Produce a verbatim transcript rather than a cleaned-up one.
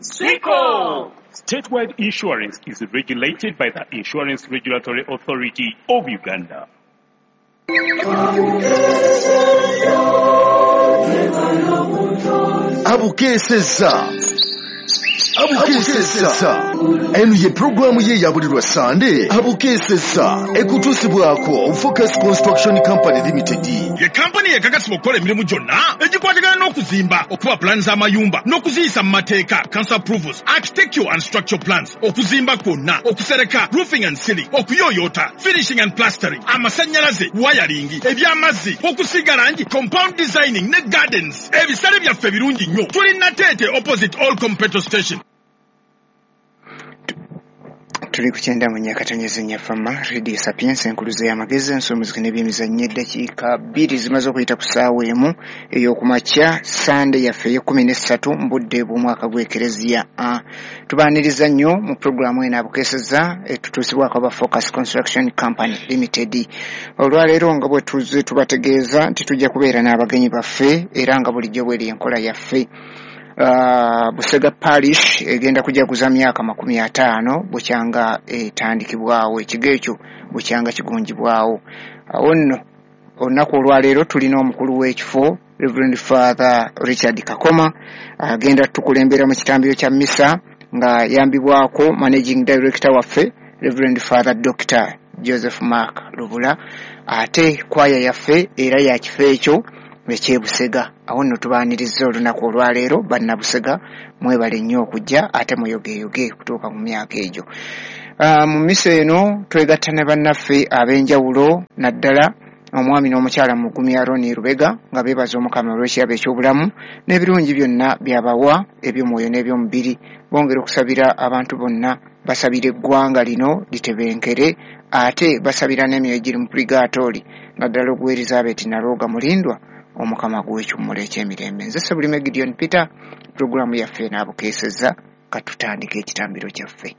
Siko! Statewide insurance is regulated by the Insurance Regulatory Authority of Uganda. Abukeseza Abukeseza eno ye pulogulaamu ye ya buli lwa Sande. Abukeseza ekutuusibwako Focus Construction Company Limited. Ye kampani ekakasibwa okukola emirimu gyonna egikwatagana n'okuzimba, okuba pulaani z'amayumba n'okuziyisa mu mateeka, council approvals, architectural and structural plans, okuzimba kwonna, okusereka, roofing and ceiling, okuyooyoota, finishing and plastering, amasannyalaze, wiring, eby'amazzi, okusiiga langi, compound designing ne gardens. Ebisale byaffe birungi nnyo. Tuli Nateete opposite all petrol station. Tuli ku kyenda mu nyakatonyeze nnyafama Radio Sapiens, enkuluze y'amagezi, ensomuziki n'ebyemizannyo. Eddakiika bbiri zimaze okuyita ku ssaawa emu ey'okumakya, Sande yaffe ey'ekkumi n'essatu mu budde bw'omwaka gw'Ekereziya. Tubaaniriza nnyo mu pulogulaamu eno Abukeeseza, etutuusibwako aba Focus Construction Company Limited. Olwaleero nga bwe tuzze tubategeeza nti tujja kubeera n'abagenyi baffe, era nga bulijjo bweri enkola yaffe. Uh, Busega Parish egenda kujaguza myaka makumi ataano bukyanga etandikibwawo, ekigo ekyo bukyanga kigunjibwawo. Awo nno olunaku olwaleero tulina omukulu w'ekifo Reverend Father Richard Kakoma, agenda tukulembera mu kitambiro kya misa nga yambibwako Managing Director waffe Reverend Father Doctor Joseph Mark Lubula, ate kwaya yaffe era ya kifo ekyo eky'e Busega. Awo nno tubaaniriza olunaku olwaleero bannabusega, mwebale nnyo okujja ate muyogeyoge kutuuka mu myaka egyo. Uh, mu misa eno twegatta ne bannaffe ab'enjawulo, naddala omwami n'omukyala Mugumi Aroni Lubega, nga beebaza Omukama olw'ekirabo eky'obulamu n'ebirungi byonna by'abawa eby'omwoyo n'eby'omubiri. Bongera okusabira abantu bonna, basabira eggwanga lino litebenkere, ate basabira n'emyoyo egiri mu purigaatooli, naddala ogwa Elizabeth Nalwoga Mulindwa, Omukama gw'ekiwummulo eky'emirembe. Nze Sebulime Gideon Peter, pulogulaamu yaffe enaabukeeseza. Katutandika ekitambiro kyaffe.